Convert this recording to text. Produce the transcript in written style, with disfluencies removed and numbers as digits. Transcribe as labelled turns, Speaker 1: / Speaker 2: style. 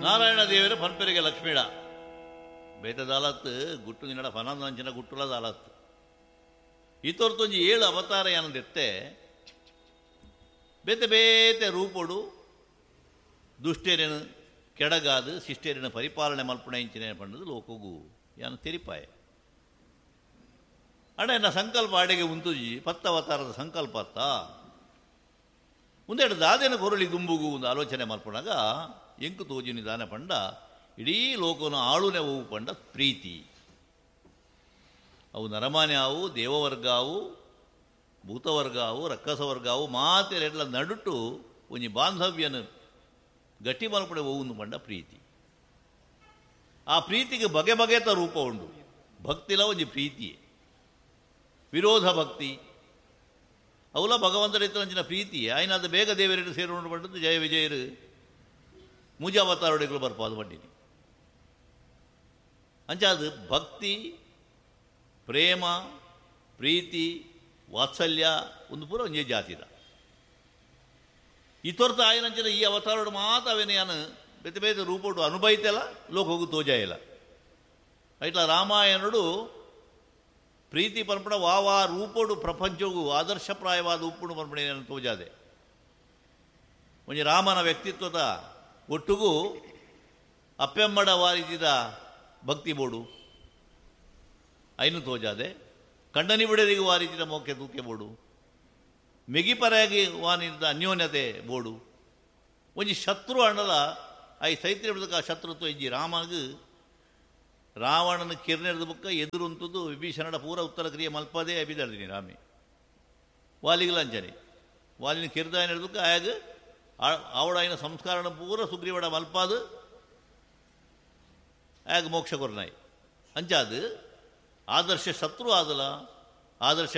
Speaker 1: ನಾರಾಯಣ ದೇವರ ಪನ್ಪೆರಿಗೆ ಲಕ್ಷ್ಮೀಡ ಬೇತ ದಾಲತ್ ಗುಟ್ಟು ನಿನ್ನಡ ಫನಂದಂಚಿನ ಗುಟ್ಟುಲ ದಾಲತ್ ಈತೊರ್ತೊಂಜಿ 7 ಅವತಾರ ಏನಂದೆತ್ತೆ ಬೇತೆ ಬೇತೆ ರೂಪೊಡು ದುಷ್ಟೇರೇನು ಕೆಡಗಾದು ಶಿಷ್ಟೇರಿನ ಪರಿಪಾಲನೆ ಮಲ್ಪುಣ ಇಂಚಿನ ಪಂಡದು ಲೋಕಗು ಯಾನು ತೆರಿಪಾಯ. ಅಣ್ಣ ಎನ್ನ ಸಂಕಲ್ಪ ಅಡೆಗೆ ಉಂತುಜಿ ಪತ್ತವತಾರದ ಸಂಕಲ್ಪ ಅತ್ತ ಒಂದೆರಡು ದಾದೆನ ಕೊರಳಿ ದುಂಬುಗು ಒಂದು ಆಲೋಚನೆ ಮಲ್ಪುಣಾಗ ಎಂಕು ತೋಜು ನಿಧಾನ ಪಂಡ ಇಡೀ ಲೋಕನ ಆಳುನೆ ಹೋವು ಪಂಡ ಪ್ರೀತಿ. ಅವು ನರಮಾನ್ಯ ಅವು ದೇವವರ್ಗ ಅವು ಭೂತವರ್ಗ ಅವು ರಕ್ಕಸವರ್ಗ ಅವು ಮಾತೆರೆಡ್ಲ ನಡುಟು ಒಂಜಿ ಬಾಂಧವ್ಯನ ಗಟ್ಟಿ ಮಲ್ಪಡೆ ಹೋವುಂದು ಪಂಡ ಪ್ರೀತಿ. ಆ ಪ್ರೀತಿಗೆ ಬಗೆ ಬಗೆತ ರೂಪ ಉಂಡು. ಭಕ್ತಿಲ ಒಂಜಿ ಪ್ರೀತಿಯೇ ವಿರೋಧ ಭಕ್ತಿ ಅವಲ ಭಗವಂತರಿತ್ತಂಚಿನ ಪ್ರೀತಿ ಆಯ್ನ ಅದು ಬೇಗ ದೇವರಿಗೆ ಸೇರುಂಡು ಪಂಡದ್ದು ಜಯ ವಿಜಯರು ಮೂಜಾವತಾರಡಿಗಳು ಬರ್ಪಾದು ಪಂಡಿನಿ. ಅಂಚಾದು ಭಕ್ತಿ ಪ್ರೇಮ ಪ್ರೀತಿ ವಾತ್ಸಲ್ಯ ಒಂದು ಪೂರ ಒಂಜೇ ಜಾತಿದ ಈ ತೊರ್ತ ಆಯನಂಚಿನ ಈ ಅವತಾರೋಡು ಮಾತ ಅವೇನು ಬೇತೆ ಬೇತೆ ರೂಪೋಡು ಅನುಭವಿತೆಲ್ಲ ಲೋಕೋಗು ತೋಜಾಯಿಲ್ಲ. ಇಟ್ಲ ರಾಮಾಯಣುಡು ಪ್ರೀತಿ ಪನ್ಪುಣ ವಾ ರೂಪೋಡು ಪ್ರಪಂಚಗೂ ಆದರ್ಶಪ್ರಾಯವಾದ ಉಪ್ಪುಡು ಪನ್ಪುಣ ತೋಜಾದೆ. ಒಂಜಿ ರಾಮನ ವ್ಯಕ್ತಿತ್ವದ ಒಟ್ಟುಗೂ ಅಪ್ಪೆಮ್ಮಡ ವಾರಿಸಿದ ಭಕ್ತಿ ಬೋಡು ಐನು ತೋಜಾದೆ. ಕಂಡನಿ ಬಿಡದಿಗೆ ವಾರಿಸಿದ ಮೋಕೆ ತೂಕೆ ಬೋಡು ಮೆಗಿಪರಾಗಿ ವಾನಿದ್ದ ಅನ್ಯೋನ್ಯತೆ ಬೋಡು. ಒಂಜಿ ಶತ್ರು ಅಣ್ಣಲ I ಸೈತ್ರಿ ಬಿಡದಕ್ಕೆ ಆ ಶತ್ರುತ್ವ ಇಜ್ಜಿ ರಾಮಗ್ ರಾವಣನ ಕಿರ್ನೆರ್ದ ಬುಕ್ಕ ಎದುರುಂತದ್ದು ವಿಭೀಷಣಡ ಪೂರ ಉತ್ತರ ಕ್ರಿಯೆ ಮಲ್ಪದೇ ಅಭಿದರ್ದಿನಿ ರಾಮಿ ವಾಲಿಗಲಂಚನೆ ವಾಲಿನ ಕಿರ್ದಾಯನ ಹಿಡಿದಕ್ಕ ಆಯಾಗ ಆವಡಾಯಿನ ಸಂಸ್ಕಾರಣ ಪೂರ ಸುಗ್ರೀವಡ ಮಲ್ಪಾದು ಆಯಾಗ ಮೋಕ್ಷ ಕೊರ್ನಾಯಿ. ಅಂಚಾದು ಆದರ್ಶ ಶತ್ರು ಆದಲ ಆದರ್ಶ ಮಿತ್ರ.